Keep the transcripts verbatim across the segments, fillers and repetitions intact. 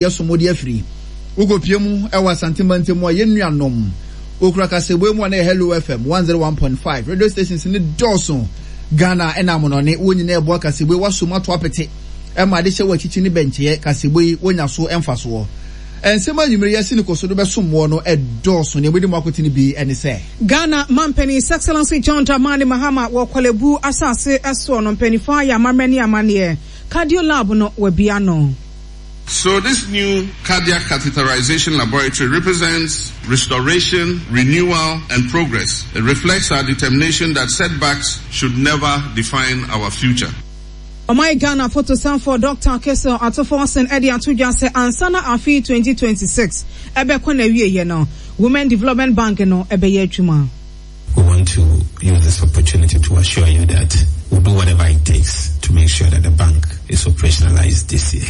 Yɛsom de afiri wokɔpie mu ɛwɔ Asante mantam a yɛn nuanom okura kasɛbue mu a na yɛ Hello F M one oh one point five. Radio stations ne dɔɔso Ghana ɛna amonɔne wɔn nyinaa ɛboa kasɛbue wasom ato apete ɛma ade hyɛ wɔ akyikyi ne bɛnkyɛɛ kasɛbue yi wɔnya so ɛmfa soɔ. Nsɛm anwummere yɛsi ne kɔso do bɛsom wɔ no ɛdɔɔso. Nea wɔde mu akotene bi ɛne sɛ Ghana mampanin, His Excellency John Dramani Mahama, wɔ Korle Bu asase ɛsoɔ no, mpanimfoɔ ayɛ amammerɛ ne amanneɛ. Cardio lab no wabia no. So this new cardiac catheterization laboratory represents restoration, renewal, and progress. It reflects our determination that setbacks should never define our future. Ɔman Ghana fotosanfoɔ Doctor Cassiel Ato Forson ɛde ato dwa sɛ ansa na afe twenty twenty-six ɛbɛkɔ na awieɛ no, Women Development Bank no ɛbɛyɛ adwuma. We want to use this opportunity to assure you that we'll do whatever it takes to make sure that the bank is operationalized this year.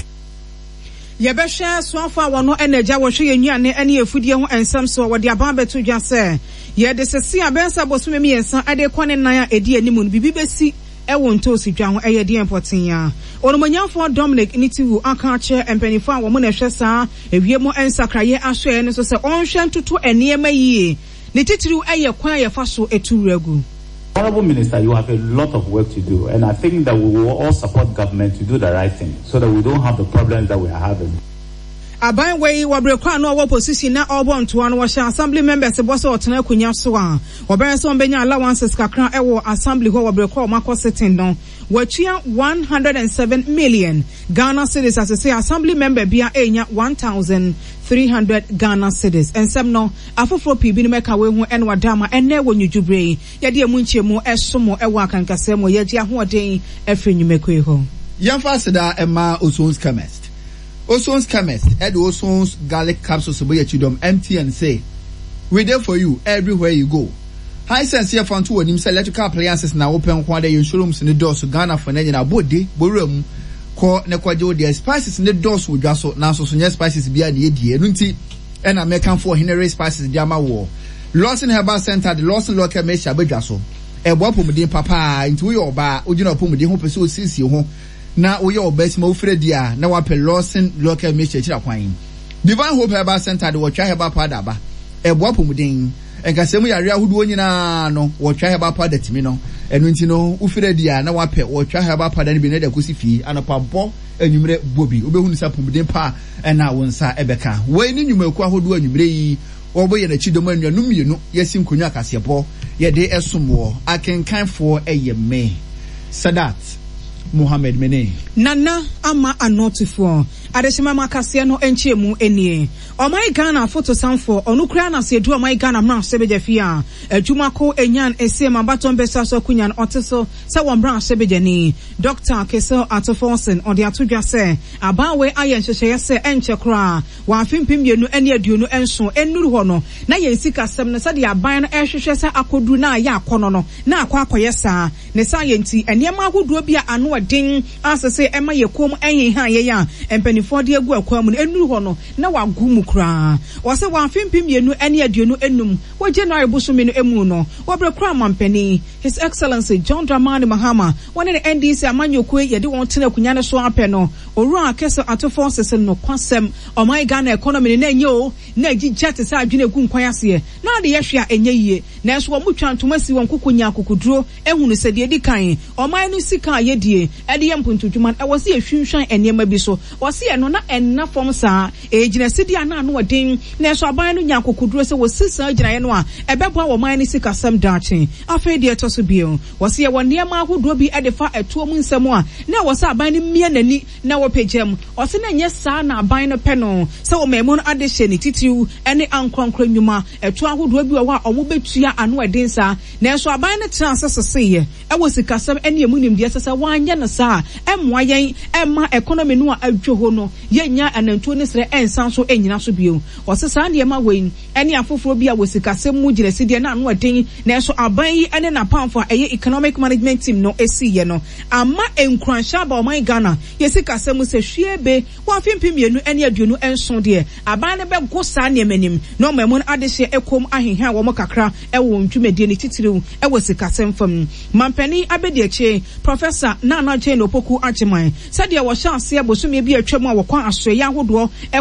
Yɛbɛhwɛ soafo a wɔno ɛna agya wɔhwɛ yɛn nnuane ne afudie ho nsɛm so a wɔde aban bɛto dwa sɛ yɛde sese a bɛyɛ sɛ bosome mmiɛnsa ɛde kɔ ne nan a ɛdi anim no, biribi bɛsi ɛwɔ ntoosi dwa ho. Ɛyɛ deɛ mpɔten a Onumonyamfoɔ Dominic Nitiwul aka akyerɛ mpanimfoɔ a wɔn na ɛhwɛ saa ewiem nsakraeɛ asoɛ no so sɛ ɔnhwɛ ntoto nneɛma yie, ne titiriw ɛyɛ kwan a yɛfa so etu wura gu. Honorable Minister, you have a lot of work to do, and I think that we will all support government to do the right thing so that we don't have the problems that we are having. Aban wei wɔbere kɔ ano ɔwɔ position na ɔrebɔ ntoa no, wɔhyɛ assembly members bɔ sɛ ɔtena akonnwa so a wɔbɛyɛ sɛ wɔbɛnya allowances kakra ɛwɔ assembly hɔ. Wɔbere kɔ ɔmo akɔ sitting no, wɔatua one hundred and seven million Ghana cedis asese assembly member bia enya one thousand three hundred Ghana cedis. Nsɛm no afoforɔ pii binom ɛka wei ho ɛna wadama ɛnɛ wɔ nwudwubere yi yɛde emu nkyɛmu ɛsom ɛwɔ akankasɛm mu. Yɛgye ahoɔden ɛfiri nnwumakuo hɔ. Yɛmfa aseda ɛma Osons Chemist. Osons Chemist ɛde Osons garlic capsules bɔ yɛ kyidɔm. M T N say we there for you everywhere you go. Hisense yɛ fa nto wɔ anim sɛ electrical appliances na wopɛ nko ada, yɛn showrooms ne dɔɔso Ghana fo ne nyinaa bɔde bɔwura mu kɔ ne kɔgye wo deɛ. Spices ne dɔɔso wɔ dwa so, nanso so nyɛ spices bia ne yɛdie. Ɛno nti ɛna mɛkamfo Ɔhenere Spices de ama wɔ. Lawson Herbal Center de Lawson Local Mehyia abadwa so ɛboa apɔmuden papaa. Nti woyɛ ɔbaa wogyina apɔmuden ho pɛ sɛ osiesie ho na woyɛ ɔbaa si ma wofiri di a na wapɛ Lawson Local Mehyia akyiri akwan. Divine Hope Herbal Center de wɔtwa herbal powder aba, ɛboa apɔmuden nkasɛm yare ahodoɔ nyinaa no. Wɔtwa herbal powder tumi no, ɛno nti no wofiri adi a na wapɛ wɔtwa herbal powder no bi na ɛde akɔsi fie anɔpa bɔ, anwummerɛ bɔ bi, wobɛhunu sɛ apɔmuden pa ɛna wo nsa ɛbɛka. Wei ne nnwumakuo ahodoɔ anwummerɛ yi wɔbɔ yɛn akyi dɔm. Anuanom mmienu yɛsi nkonnwa akaseɛbɔ yɛde ɛsom wɔ akenkanfoɔ. Ɛyɛ me Sadat Mohammed mene Nana Ama Anɔtofoɔ adehyema mu akaseɛ no nkyɛn mu nie. Ɔman Ghana fotosanfoɔ ɔno kura na sɛ edu ɔman Ghana mmarahyɛbadwa fie a adwumako enyan esiem abatɔn bɛsa so akonnwa no ɔte so sɛ wɔn mmarahyɛbadwani Doctor Cassiel Ato Forson ɔde ato dwa sɛ aban ayɛ nhyehyɛeɛ sɛ ɛnkyɛ koraa wɔ afe mpem mmienu ne aduonu nson nnuru hɔ no na yɛn sikasɛm no sɛdeɛ aban no ɛrehwehwɛ sɛ akɔduru na ayɛ akɔnɔ no na akɔ akɔyɛ saa. Ne saa yɛ nti nneɛma ahodoɔ bi a ano ɛden asese ɛma yɛ kɔn mu ɛheha yɛn a mpanimfoɔ de agu akwan mu no nnuru hɔ no na wagu mu koraa. Wɔsɛ wɔ afe mpem mmienu ne aduonu enum wɔ January bosome no emu no, wɔbrɛ kora amampanin His Excellency John Dramani Mahama wɔne ne N D C amanyɔkuo yɛde wɔn tena akonnwa no so apɛ no, Owura Cassiel Ato Forson sɛ nokwasɛm ɔman Ghana economy no na ɛnyɛ o na agyigya te sɛ adwene egu nkwan aseɛ na ade yɛhwɛ a ɛnyɛ yie, nanso wɔn mu twa ntoma si wɔn koko nya akokoduro ehunu sɛ deɛ edi kan ɔman no sika a yɛdie ɛde yɛ mpuntudwuma no ɛwɔ sɛ yɛhwinhwan nneɛma bi so. Wɔsi ɛno na ɛnna fam saa egyina sidi a na ano ɔden, nanso aban no nya akokoduro sɛ wɔsi saa gyinaeɛ no a ɛbɛboa wɔn no sikasɛm daakye. Afei deɛ ɛtɔ so bio, wɔsi yɛwɔ nneɛma ahodoɔ bi ɛde fa ɛtoɔ mu nsɛm a na ɛwɔ sɛ aban no mmea n'ani na wɔpagya mu. Ɔsi na nyɛ saa na aban no pɛ no sɛ wɔn mu no ade hyɛ ne titiriw ɛne ankorankora nnwuma ɛto ahodoɔ bi wɔ hɔ a wɔn bɛtua ano ɛden saa, nanso aban no tena ase seseeɛ ɛwɔ sikasɛm ɛne emu nimdeɛ sɛ sɛ wɔanyɛ no saa ɛmmoa yɛn ɛma economy no a adwo hɔ no yɛnya anantuo ne serɛ ɛnsan so ɛnyina so bio. Ɔsɛ saa nneɛma wei ɛne afoforɔ bi a wɔ sikasɛm mu gyina sideɛ na ano ɛden, nanso aban yi ɛne n'apamfo a ɛyɛ economic management team no esiiɛ no ama nkuranhyɛ aba ɔman Ghana yɛ sikasɛm mu sɛ hwie be wɔ afe mpem mmienu ne aduonu nson deɛ, aban no bɛgo saa nneɛma nim na ɔman mu no adehyeɛ ɛkɔm ahehan wɔn kakra ɛwɔ wɔn dwumadie ne titiriw ɛwɔ sikasɛm fam. Mampanin abɛdi akyire Professor Nana Jane Opoku Agyeman sɛdeɛ wɔhyɛ aseɛ bosome bi atwa mu a a wɔkɔ asoɛyɛ ahodoɔ ɛkɔ.